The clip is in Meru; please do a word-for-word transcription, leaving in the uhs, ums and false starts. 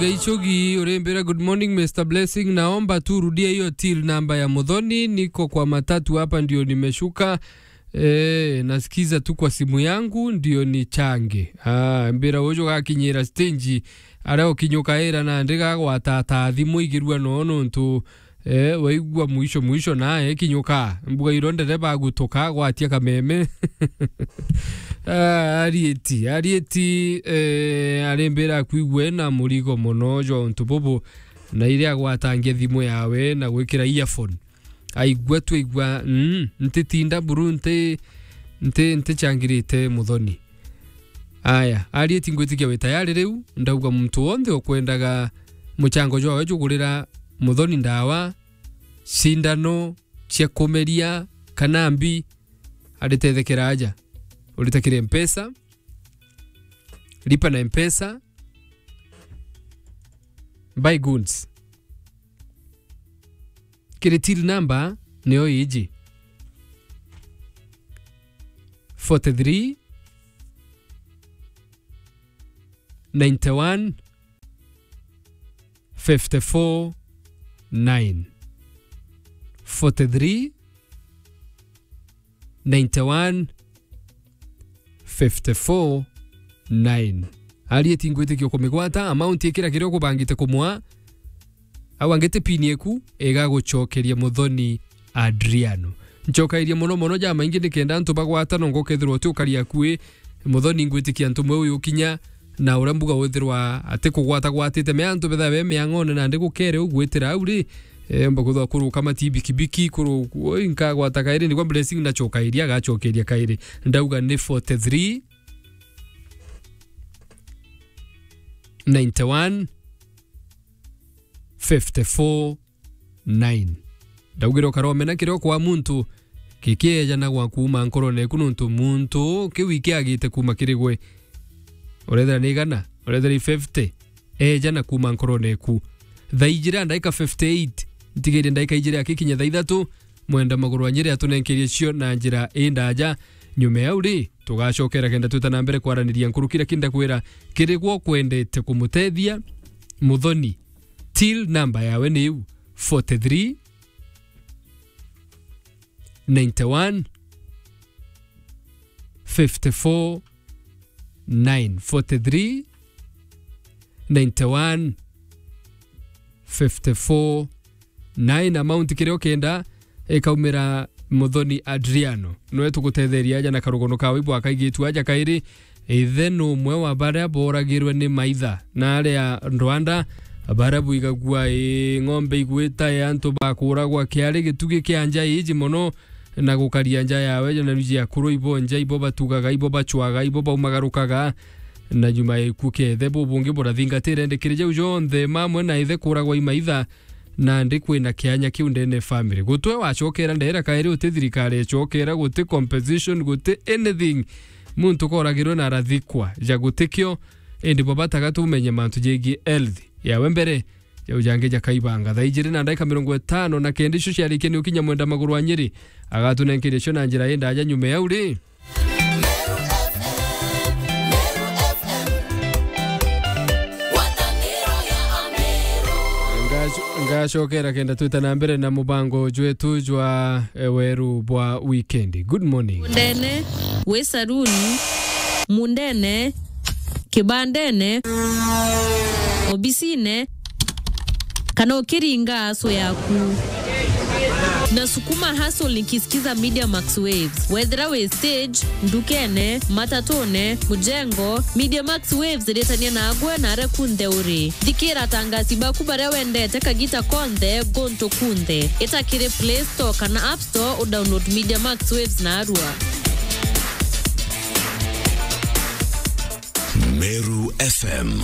Gaichogi, urembera, "Good morning, Mister Blessing. Naomba tu rudia hiyo till namba ya Muthoni. Niko kwa matatu hapa ndio nimeshuka. Eh, nasikiza tu kwa simu yangu ndio nichange." Ah, mbira uju gakinyira stage, aria ukinyuka ira na ndiga gwatata thimu igirua no nontu, eh, waigua mwisho mwisho na ekinyuka. Mbuga iro ndere bagutuka gwatia kameme. Ah, arieti, arieti, eh, arembera kwigwe na murigo mono jo untu bubu, na iria agwatangia thimu yawe na gwikira earphone. Aigua twaigua, mm, ntitinda buru, nti, nti, ntichangirite Muthoni. Aya, arieti ngwitikia wi tayari riu, ndauga muntu wonthe ukwendaga muchango jwawe jugurira Muthoni ndawa, cindano cia kumeria kana mbi, aritethekera aja. Uritakire Mpesa, lipa na Mpesa, buy goods. Kiri till number niyo iji. Forty-three, ninety-one, fifty-four, nine. Forty-three, ninety-one, fifty-four, nine. Arieti ngwitikia kumigwata, amount ikira kiria ukubangite kumwa, au angite pin eku, igagucokeria Muthoni Adriano. Ncokairie mono mono jamaingi nikenda antu bagwata, no ngokethirwa uti ukari akui, Muthoni ngwitikia antu mwe uyu ukinya, na uria mbuga withirwa ati kugwata gwatite me antu betha be miang'one nandi gukere ugwitira au ri, eh, mba kwithirwa kuruka mati bikibiki, kuru-, oi, nkagwata kairi, nigwa Blessing nacokairia, agacokeria kairi. Ndauga ni forty-three, ninety-one, fifty-four, nine. Ndaugire ukaromena kiria ukwa muntu, gikiejanagwa kuuma nkorone eku, nontu muntu kiu ikiagite kuuma kiri gwe. Urethira ni igana, urethira ni fifty, ejana kuuma nkorone eku. Thaa ijiri na ndaika fifty-eight, ntigaire ndaika ijiri akikinya thaa ithatu, mwenda maguru wa Nyeri atunenkerie cio na njira indaja. Nyuma ya au ri, tugacokera kenda twita na mbere kwaraniria nkuruki, lakini ndakwira, kiri gwe ukwendete kumutethia Muthoni, till number yawe ni iu, forty-three, ninety-one, fifty-four, nine. Forty-three, ninety-one, fifty-four, nine. Amount kiria ukenda ikaumira Muthoni Adriano. Nwe tugutetheria aja na karugono kawe ibwakaigitu aja kairi. Ithe ni umwe wa baria boragirwe ni maitha na aria Rwanda, baria bwigagua i ng'ombe igwita, i antu bakuragwa, kiari gitugi kia nja iji mono, na gukaria nja yawe, na ruji akuru ibo nja, ibo batugaga, ibo bachwaga, ibo baumagarukaga, na nyuma ya gikuu kia ithe, bubungi burathingatire. Ndikiri jau jonthe, mamwe na ithe kuragwa i maitha, nandi kwina kianya kiu ndene family. Gutwe wacokera ndera kairi, uti thirikari icokera, guti compensation, guti anything. Muntu koragirwe na arathikwa, ja gutikio, indi bwabataga tumenye mantu jegii health yawe mbere, jau jangi jakaibanga. Thaa ijiri na ndaika mirongo itano na kenda icio ciarikia ni ukinya mwenda maguru wa Nyeri, agatunenkeria cio na njira indaja nyuma ya uri. Ngaco-, ngacokera kenda twita na mbere na mubango jwetu jwa, eh, weru bwa wikendi. Good morning. Mundene, wi saruni, mundene, kibandene, obisine, kana ukiringa aso yaku. Nasukuma hustle nikisikiza Media Max Waves. Wethira wi stage, ndukene, matatune, mujengo, Media Max Waves iritania nagwe na aria kunthe uri. Thikira atangasi baku baria wendete kagita konthe, guntu kunthe. Ita kiri Play Store kana App Store udownload Media Max Waves narua. Meru F M.